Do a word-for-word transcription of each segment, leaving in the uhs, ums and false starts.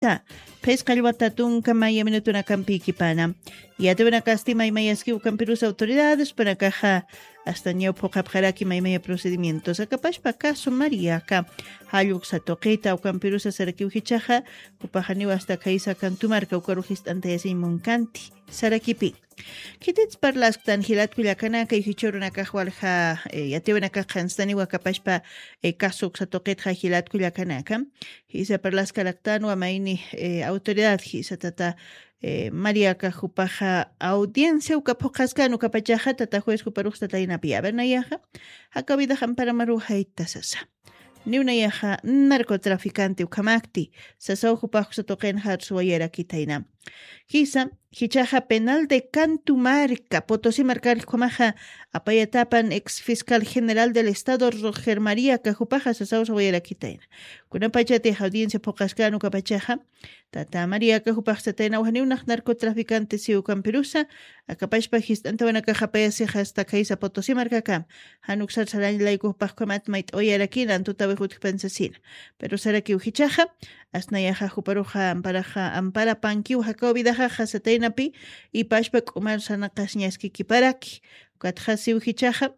Phisqa llwata tunka maya minutunakampïkipana. Yatiwanakasti maymayaskiw ukampirus autoridades panakaxa hasta ñaw phuqhapxaraki maymaya procedimientos akapashpa caso Mariaka jalluksa tuqita ukampirusa sarakiw jichaxa, jupaxaniw hasta khaysa kantumarka ukaru jist'antayasiñ munkanti sarakipi. Khitits parlasktan jilatku llakanaka y jichurunakax walja yatiwanakax qhanstaniwa kapashpa, caso uksa tuqitxa jilatku llakanaka. Jisa parlaskaraktanwa mayni autoridad jisa tata Mariaka jupaxa audiencia uka phuqaskan ukapachaxa tata juez juparuxsa taynapi avernayaxa, jakawidax amparamaru jayta sasa. Niwnayaxa narcotraficante ukhamakti sasaw jupaxsa tuqinxa arsuwayarakitayna. Jisa jichaxa penal de cantumarca potosi markarjkumaxa apayatapan ex fiscal general del estado roger maría kajupaxa sasaw sawayarakitayna. Kunapachatix audiencia phuqaskan ukapachaxa tata maría kajupaxsatayna wajniwnax narcotraficante siw ukampirusa akapashpa jist'antawanakax apayasixa hasta khaysa potosi markakam. Jan uksar sarañ layku jupaxkumat mayt'awayarakina antutawix utjpan sasina. Pero sarakiw jichaxa asnayaxa juparuxa amparaxa ampara pankiw jakaw vidaxaxa sataynapi ipashpa k'umar sanaqasñaskikiparaki. Ukatxa siw jichaxa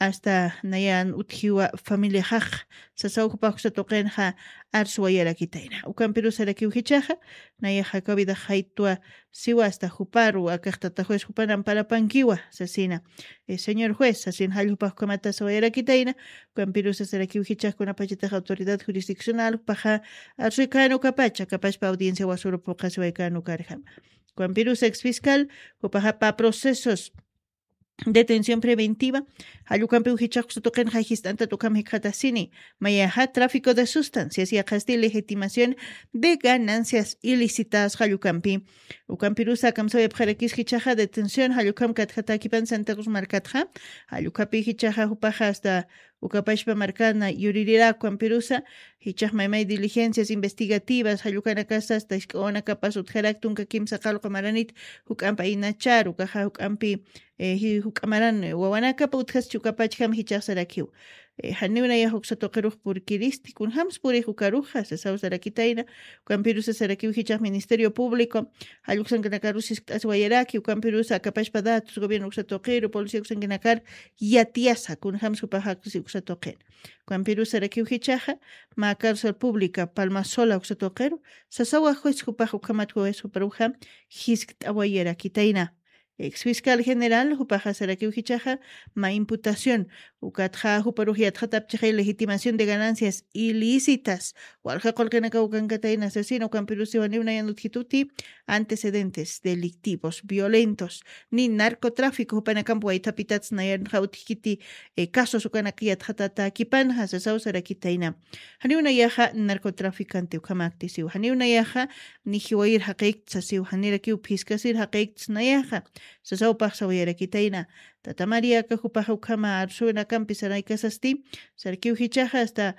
hasta nayan utjiwa familiaxax sasaw jupaxsa tuqinxa arsuwayarakitayna ukampirusarakiw jichaxa nayax jakaw vidax jaytwa siwa hasta juparu akaxtata juez jupan amparapankiwa sasina. Señor juez sasin jall jupaxkamata sawayarakitayna ukampirusa sarakiw jichaxkunapachatax autoridad jurisdiccional jupaxa arsuykan ukapacha kapashpa audiencia wasuru phuqasiwaykan ukarjama. Ukampirusa ex fiscal jupaxapa procesos detención preventiva jallukampiw jichaxkusa tuqinxa jist'antat ukham jikxatasini mayaxa tráfico de sustancias yaqhasti legitimación de ganancias ilícitas jallukampi. Ukampirusa kamsawayapxarakis jichaxa detención jallukam katjatakipan santa cruz markatxa jallukapï jichaxa jupaxa hasta ukapashpa markana yuririraku ukampirusa jichax maymay diligencias investigativas jallukanakasa hasta isk'awanakapas utjarak tunka kimsa qalqu maranit juk'ampa inacharu kaxa juk'ampi juk'amaran wawanakapa utjaschi ukapachjam jichaxsarakiw. Janiwnayax uksa tuqirux purkiristi kunjams purix ukaruxa sasaw sarakitayna ukampirusa sarakiw jichax ministerio público jalluksankanakaru siskt'asiwayaraki ukampirusa akapashpa datos gobierno uksa tuqiru policía uksankanakar yatiyasa kunjams jupaxaksi uksa tuqin. Ukampirusa sarakiw jichaxa mä cárcel pública palmasola uksa tuqiru sasawa juez jupax ukhamat juez juparuxa jiskt'awayarakitayna. Ex fiscal general jupaxa sarakiw jichaxa mä imputación ukatxa juparux yatxatapchixay legitimación de ganancias ilícitas walja qulqinakaw kankatayna sasina ukampirusiwa niwnayan utjituti antecedentes delictivos violentos ni narcotráfico jupanakamp waythapitats nayanxa utjkiti casos ukanak yatxatatakipanxa sasaw sarakitayna. Janiw nayaxa narcotraficante ukhamakti siw janiw nayaxa ni jiwayir jaqïkta sasiw janirakiw phiskasir jaqïkta nayaxa sasaw paxsawayarakitayna. Tata mariaka jupaxa ukhama arsuwinakampi saraykasasti sarkiw jichaxa asta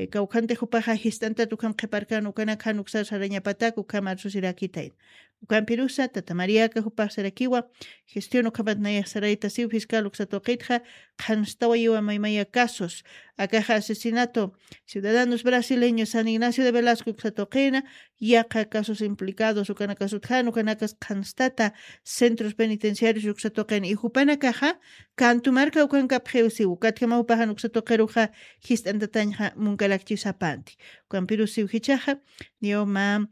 kawkhantix jupaxa jist'antat ukham qhiparkan ukanak jan uksar sarañapatak ukham arsusirakitayna. Ukampirusa tata mariaka jupax sarakiwa gestión ukhamat nayax saraytasiw fiscal uksa tuqitxa qhanstawayiwa maymaya casos akaxa asesinato ciudadanos brasileños san ignacio de velasco uksa tuqina yaqa casos implicados ukanakasutjan ukanakas qhanstata centros penitenciarios uksa tuqina y jupanakaxa kantumarka ukankapxiw siw ukatjama jupaxan uksa tuqiruxa jist'antatañxa munkarakchisapanti. Ukampirusiw jichaxa niyaw mä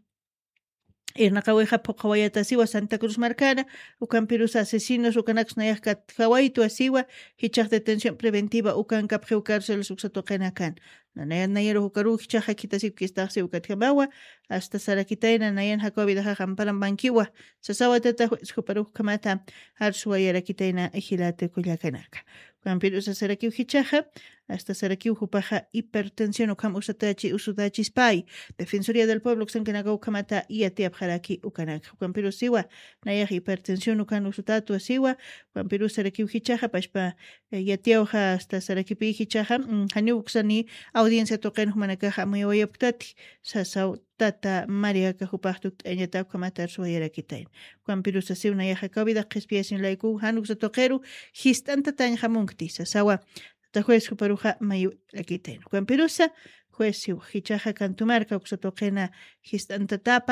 irnaqawixa phuqhawayatasiwa santa cruz markana ukampirusa asesinos ukanaks nayax katjawaytwa siwa jichax detención preventiva ukankapxiw cárceles uksa tuqinakan. Nanayan nayaru jukaruw jichaxa khitasipkistaxsiw ukatjamawa asta sarakitayna nayan jakaw vidaxax amparampankiwa sasawa tata juez juparux ukhamata arsuwayarakitayna jilata kullakanaka. Ukampirusa sarakiw jichaxa asta sarakiw jupaxa hipertensión ukham usatachi usutachispay defensoría del pueblo uksankanaka ukhamata yatiyapxaraki ukanaka ukampirusiwa nayax hipertensión ukan usutatwa siwa ukampirusa sarakiw jichaxa pashpa yatiyawxa asta sarakipï jichaxa janiw uksani audiencia tuqin jumanakaxa amuyawayapktati sasaw tata mariaka jupax tukt'añatak ukhamata arsuwayarakitayna. Ukampirusa siw nayaxa kawida qhispiyasiñ laykuw jan uksa tuqiru jist'antatañxa munkti sasawa tata juez juparuxa mayurakitayna ukampirusa Pues jichhaxa kantumarka uksatuqina jist'antatapa.